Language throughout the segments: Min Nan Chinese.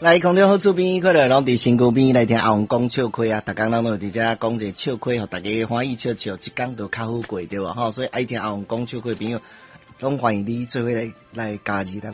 來空中好厝邊，快樂攏佇身軀邊來聽阿王講笑話啊！逐工咱攏佇遮講一個笑話，予大家歡喜笑笑，一工就較好過對無吼？所以愛聽阿王講笑話朋友，攏歡迎你做伙來來加入咱。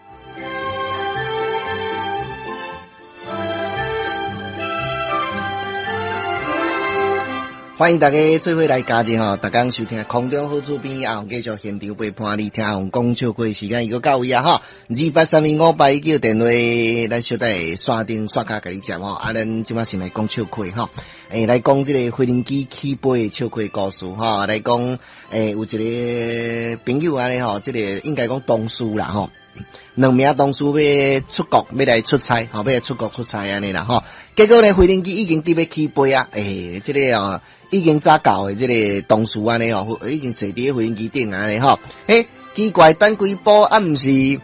歡迎大家做伙來加入吼，逐工收聽空中好厝邊阿王繼續現場陪伴你聽阿王講笑話，時間已經到位啊吼，28325819電話，咱小等下線頂線跤共你接吼，啊，咱這擺先來講笑話吼，欸，來講這個飛行機起飛的笑話故事吼，來講欸，有一個朋友按呢吼，這個應該講同事啦吼。兩名同事欲出國，欲來出差，吼，欲來出國出差按呢啦，吼。結果呢，飛行機已經佇欲起飛啊，欸，這個哦，已經早到的這個同事按呢吼，已經坐佇咧飛行機頂按呢吼。欸，奇怪，等幾晡啊，毋是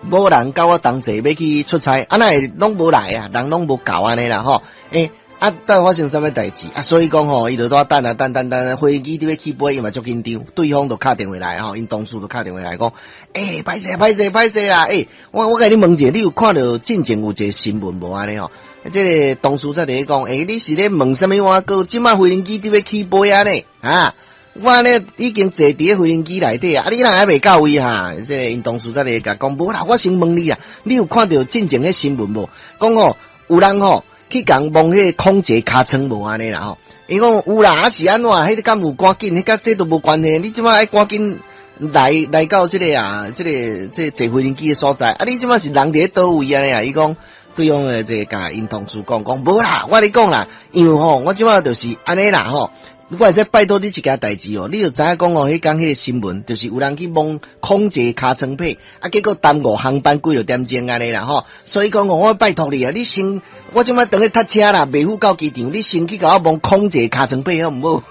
無人佮我同齊欲去出差，啊，哪會攏無來啊？人攏無到按呢啦，吼。欸，啊，到底發生啥物代誌？啊，所以講吼，伊就拄等啊等等等，飛機佇欲起飛，伊嘛足緊張，對方就敲電話來吼，𪜶同事就敲電話來講，欸，歹勢歹勢歹勢啦！欸，我共你問一下，你有看著進前有一個新聞無按呢吼？這個同事才佇咧講，欸，你是咧問啥物碗糕？這擺飛行機佇欲起飛啊呢？啊，我呢已經坐佇咧飛行機內底啊，啊，你人還未到位哈？這個𪜶同事才佇咧共講，無啦，我先問你啊，你有看著進前彼新聞無？講吼，有人吼去共摸彼個空姐尻川無按呢啦吼？伊講有啦，啊是按怎？彼個敢有趕緊？彼佮這都無關係。你這擺愛趕緊來來到這個啊，這個這個坐飛行機的所在。啊，你這擺是人佇咧佗位按呢啊？伊講對方的這個共𪜶同事講講無啦，我共你講啦，因為吼，我這擺就是按呢啦吼。我會使拜託你一件代誌哦，你就知影講哦，彼工彼個新聞就是有人去摸空姐尻川皮，啊，結果耽誤航班幾落點鐘按呢啦吼。所以講哦，我拜託你啊，你先，我這擺當咧塞車啦，袂赴到機場，你先去共我摸空姐尻川皮好毋好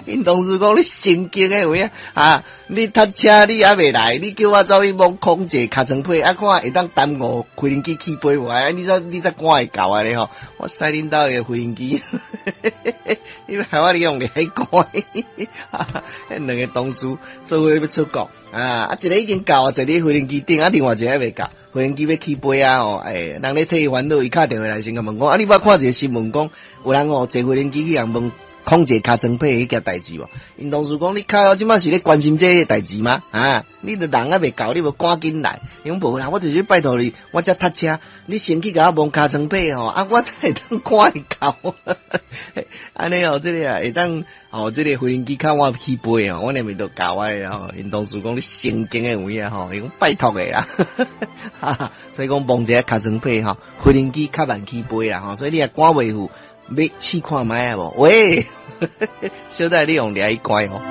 ？𪜶同事講你神經的有影啊！你塞車你猶未來，你叫我走去摸空姐尻川皮，啊，看會當耽誤飛行機起飛無？啊，你才你才趕會到按呢吼？我駛恁兜的飛行機，你害我你用來趕？彼兩個同事做伙欲出國啊！啊，一個已經到啊，坐佇飛行機頂，啊，另外一個猶未到，飛行機欲起飛啊！吼，欸，人咧替伊煩惱，伊敲電話來先共問講，啊，你捌看一個新聞講，有人吼坐飛行機去共問空姐尻川皮彼件代誌無？𪜶同事講你靠，這擺是咧關心這個代誌嗎？啊，你著人猶未到，你無趕緊來？伊講無啦，我就是拜託你，我才塞車，你先去共我摸尻川皮吼，啊，我才會當趕會到。按呢哦，這個啊會當哦，這個飛行機較晚起飛哦，我連袂都教我的吼。𪜶同事講你神經的有影吼，伊講拜託的啦，哈哈，所以講摸一下尻川皮吼，飛行機較慢起飛啦吼，所以你若趕袂赴。欲試看覓啊無？喂，小弟你用掠伊乖吼。